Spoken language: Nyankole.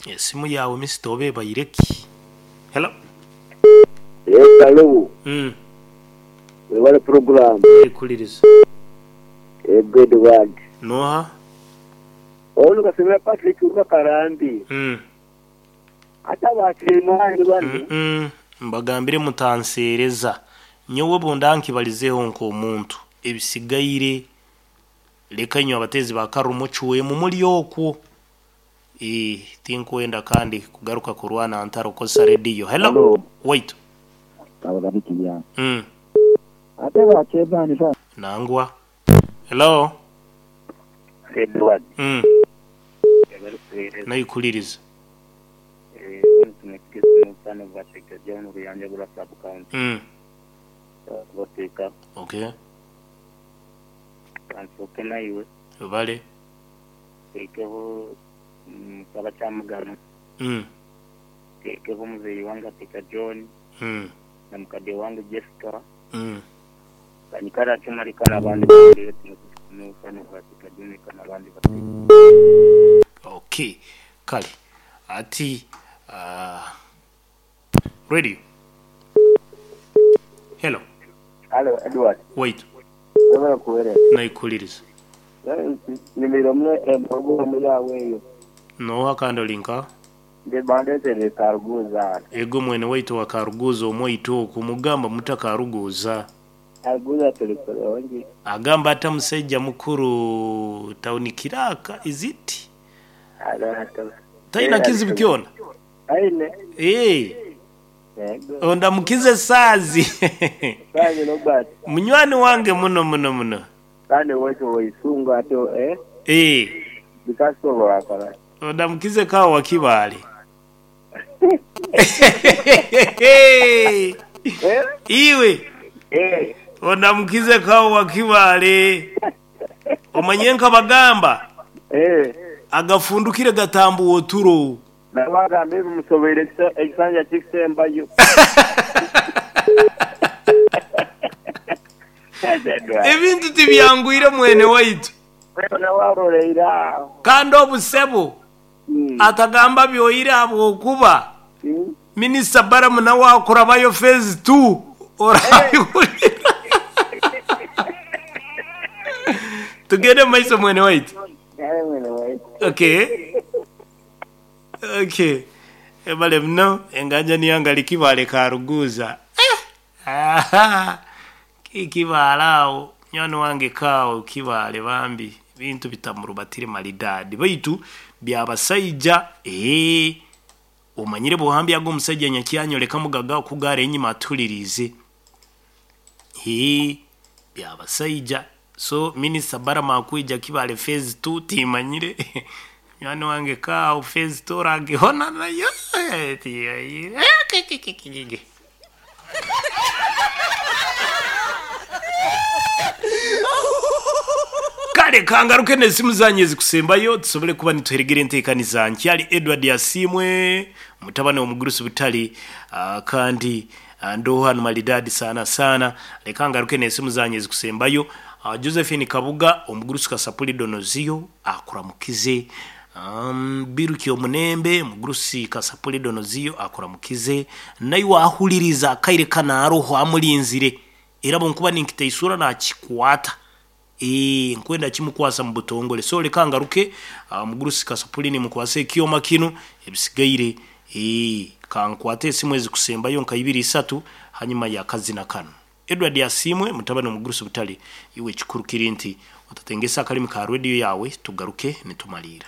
Esimu yaawe misita oba ebaire ki? Hello. Yes hello. Webale program. Ekuliriza. Ego Edward. Noha? Ono Kasemera Patrick kuruga Karambi. Hati abakireemaani banu. Mbagambire mutanseereza. Nyowe obu ndankibalizeeho nk'omuntu, ebisigaire leka inywe abateezi ba karuru mucwemu muli okwo. Eeh tinkwenda kandi kugaruka kurwana ntaro kozesa rediyo. Hello. Hello. Waitu. Kabagabikirya. Ate ba chairman ba. Nangwa. Hello. Edward. Abarikuheereza. Naikuliriza. Ruyanja Sub County. Kubateeka. Okay. Kansooke naiwe. Webale. Nteekeho Musaba Kyamugano. Nteekeho muzeeyi wange Ateka John. Na mukade wange Jessica. Kanyikare atyo Marika n'abandi bateyo Ateka John n'abandi bateyo. Okay. Kale. Ati uh, radio. Hello. Hello Edward. Waitu. Webale kuwereza. Naikuliriza. Nyumirwa muno empuroguramu yaawe eyo. Nooha kandi ori nka? Ndi Bandetere Karuguuza hanu. Ego mwene waitu owa Karuguuza omwaitu okwo mugamba muta Karuguuza? Karuguuza turi kurungi. Agamba ata musaija mukuru town kiraka is it? Taina kizibu kyona? Aine. Eeh. Yego. Ondamukize Saazi. Saazi Robert. Munywani wange muno muno muno. Kandi owaitu oweisungu atyo eh. Eeh. Bikasobola kola. Ondamukize kawo wa Kibaale. Eh? Iwe. Eh. Ondamukize kawo wa Kibaale. Omanye nkabagamba. Eh. Agafundukire gatambuwa oturo. Nabagamba ebi musoboire ekisanja kikusembayo. Ebintu tibyangwire mwene waitu. Kandi obu sebo atagamba byoire ahabw'okuba Minisita Balaam nawe akurabayo phase 2 orabihurira. Tugende omu maiso mwene waitu. Okay. Okay. Webale muno enganja niyo ngali Kibaale Karuguuza. Eh! Ahaa! Kibaale awo munywani wange kaawo Kibaale bambi ebintu bitamurubatire maridadi baitu byabasaija eeh omanyire bwohambya ago omusaija nyakyanyoleka mugaga okugaara enyima atuhuririize eeh byabasaija so minisita Balaam akwija Kibaale phase 2 timanyire munywani wange kaawo phase 2 oragihona nayo timanyire. Kale kangaruke n'esimu zanyu ezikusembayo tusobole kuba nituheregera enteekaniza. Nkyali Edward Asiimwe, mutabani w'omugurusi Butale, ah, kandi ah, ndoho hanu maridadi sana sana. Leka ngaruke n'esimu zanyu ezikusembayo. Ah, Josephine Kabuga, omugurusi Kasapuli Donoziyo akuramukize. Um, Biruki Omunembe, omugurusi Kasapuli Donoziyo akuramukize. Naiwe ahuririza akaire kanu aroho amurinzire. Era bwenkuba ninkiteisura nakikwata. Eeh, nkwenda kimukwasa mu butongole. So leka ngaruke, omugurusi Kasapuli nimukwasa ekyoma kinu, ebisigaire eeh, kankwate esimu ezikusembayo nka ibiri isatu hanyuma y'akazina kanu. Edward Asiimwe, mutabani w'omugurusi Butale, iwe ekikuru kiri nti otatengesa akarimi ka rediyo yaawe tugaruke nitumaliira.